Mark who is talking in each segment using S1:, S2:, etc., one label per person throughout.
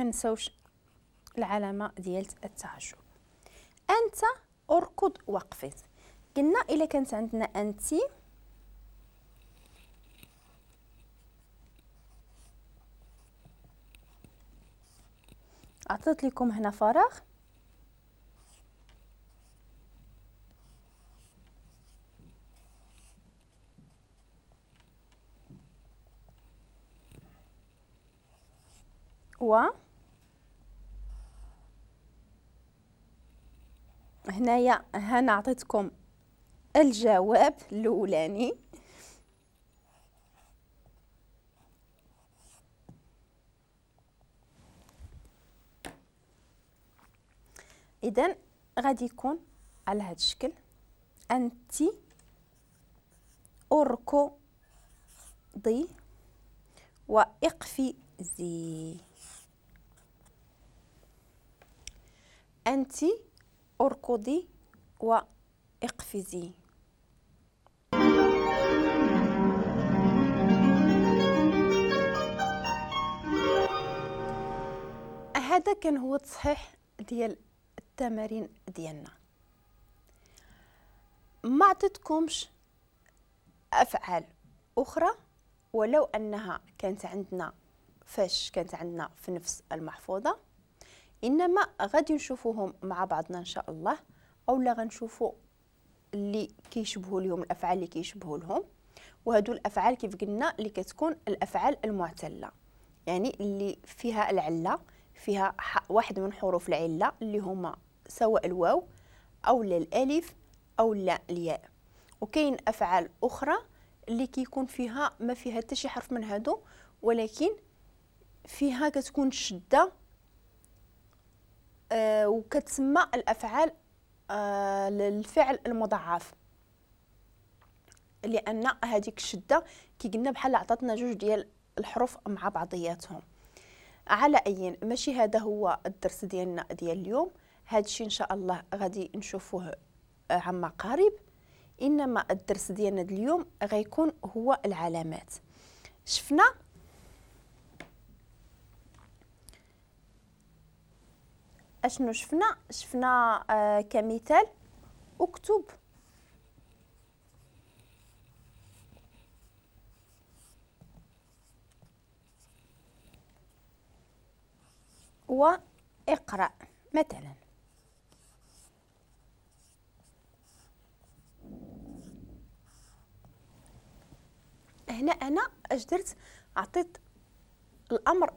S1: ما نساوش العلامة ديال التعجب. أنت أركض واقفز. قلنا إلا كانت عندنا أنت عطيت لكم هنا فراغ، و هنايا هنا عطيتكم الجواب الاولاني. اذا غادي يكون على هذا الشكل: انت اركضي واقفزي. انت اركضي واقفزي. هذا كان هو التصحيح ديال التمارين ديالنا. ما عطيتكمش افعال اخرى ولو انها كانت عندنا فاش كانت عندنا في نفس المحفوظة، انما غادي نشوفوهم مع بعضنا ان شاء الله، اولا غنشوفوا اللي كيشبهوا لهم الافعال اللي كيشبهوا لهم. وهادو الافعال كيف قلنا اللي كتكون الافعال المعتله، يعني اللي فيها العلة، فيها واحد من حروف العلة اللي هما سواء الواو او لا الالف او لا الياء. وكاين افعال اخرى اللي كيكون فيها ما فيها حتى شي حرف من هادو، ولكن فيها كتكون شده وكتسمى الافعال الفعل المضاعف، لان هذيك الشدة كي قلنا بحال عطاتنا جوج ديال الحروف مع بعضياتهم. على اي ماشي هذا هو الدرس ديالنا ديال اليوم، هذا الشيء ان شاء الله غادي نشوفوه عما قريب. انما الدرس ديالنا اليوم غيكون هو العلامات. شفنا اشنو شفنا؟ شفنا كمثال اكتب واقرأ مثلا. هنا انا اش درت؟ عطيت الامر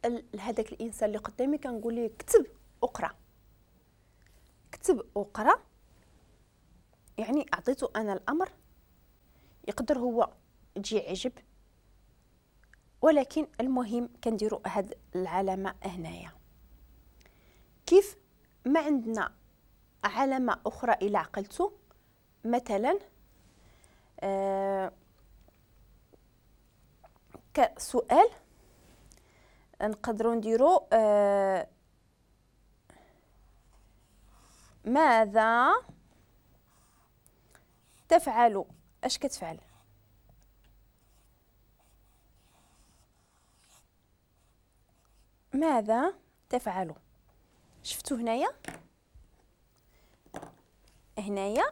S1: لهذاك الانسان اللي قدامي، كنقول ليه كتب اقرا، كتب اقرا، يعني عطيته انا الامر. يقدر هو يجي عجب، ولكن المهم كنديروا هاد العلامة هنايا. كيف ما عندنا علامة اخرى الى عقلتو، مثلا كسؤال نقدروا نديرو ماذا تفعل؟ اش كتفعل؟ ماذا تفعل؟ شفتوا هنايا، هنايا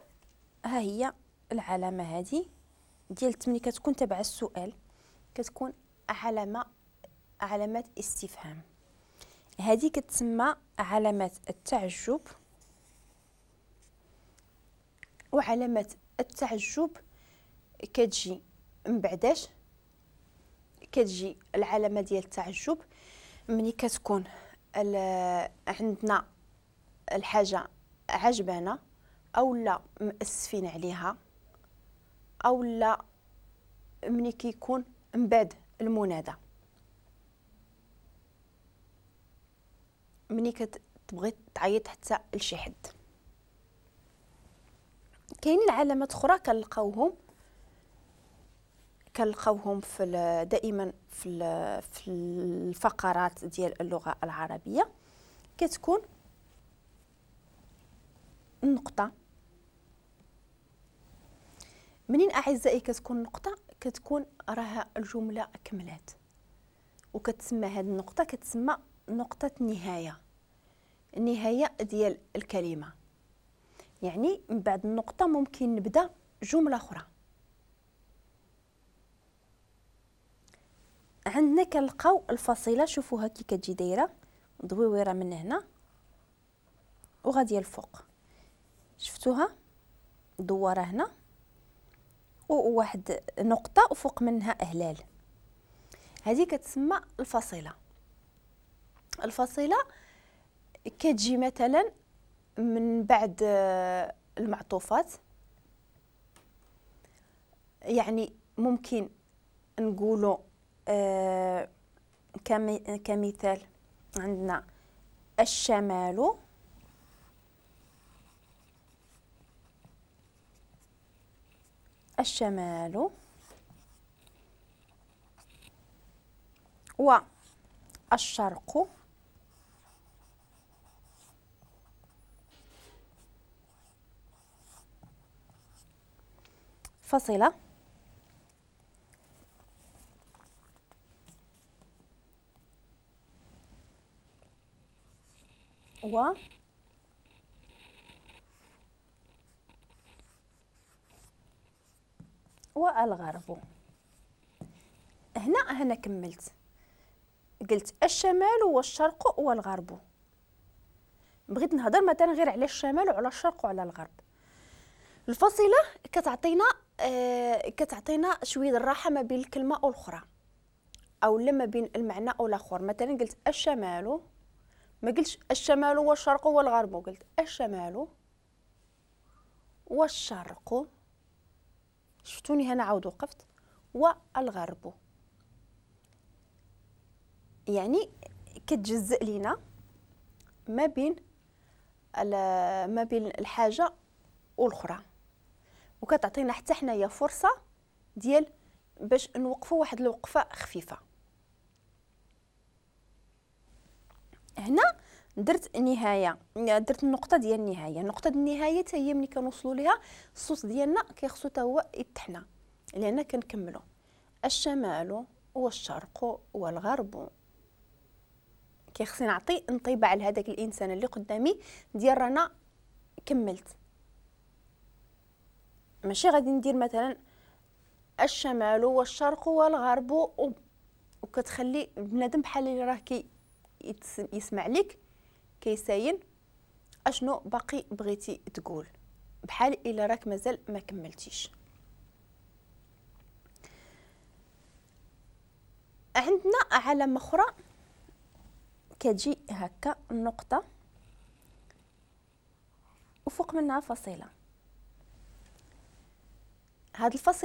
S1: ها هي العلامة هذه ديال ملي كتكون تبع السؤال كتكون علامة، علامات استفهام. هذه كتسمى علامات التعجب. وعلامات التعجب كتجي من بعداش؟ كتجي العلامة ديال التعجب ملي كتكون عندنا الحاجة عجبانا او لا مأسفين عليها، او لا ملي كيكون من بعد المنادى، ملي كتبغي تعيط حتى لشي حد. كاينين علامات اخرى كنلقاوهم في دائما في الفقرات ديال اللغة العربية. كتكون النقطة. منين اعزائي كتكون النقطة؟ كتكون راها الجملة كملات، وكتسمى هذه النقطة كتسمى نقطة نهاية، النهاية ديال الكلمة، يعني من بعد النقطة ممكن نبدأ جملة أخرى. عندنا كنلقاو الفاصلة، شوفوها كي كتجي دايرة دويويره من هنا وغاديه الفوق، شفتوها دواره هنا وواحد نقطة وفوق منها هلال، هذه كتسمى الفاصلة. الفاصلة كتجي مثلا من بعد المعطوفات، يعني ممكن نقولوا كمثال عندنا الشمال الشمال والشرق فاصلة و والغرب. هنا كملت، قلت الشمال والشرق والغرب. بغيت نهضر مثلا غير على الشمال وعلى الشرق وعلى الغرب. الفاصلة كتعطينا شوية الراحة ما بين الكلمة والاخرى، او لا ما بين المعنى او الاخر. مثلا قلت الشمال، ما قلتش الشمال والشرق والغرب، قلت الشمال والشرق، شفتوني هنا عاود وقفت، والغرب. يعني كتجزئ لينا ما بين الحاجة والاخرى، وكتعطينا حتى حنايا فرصة ديال باش نوقفوا واحد الوقفة خفيفة. هنا درت نهاية، درت النقطة ديال النهاية. نقطة النهاية حتى هي ملي كنوصلوا ليها الصوت ديالنا كيخصو حتى هو يتحنى، لان كنكملوا الشمال والشرق والغرب. كيخصني نعطي انطباع لهذاك الانسان اللي قدامي ديال رانا كملت. ماشي غادي ندير مثلا الشمال والشرق والغرب وكتخلي بنادم بحال اللي راه كي يسمع لك كيساين اشنو باقي بغيتي تقول، بحال الا راك مازال ما كملتيش. عندنا علامة اخرى كتجي هكا النقطة وفوق منها فاصلة. هاد الفاصلة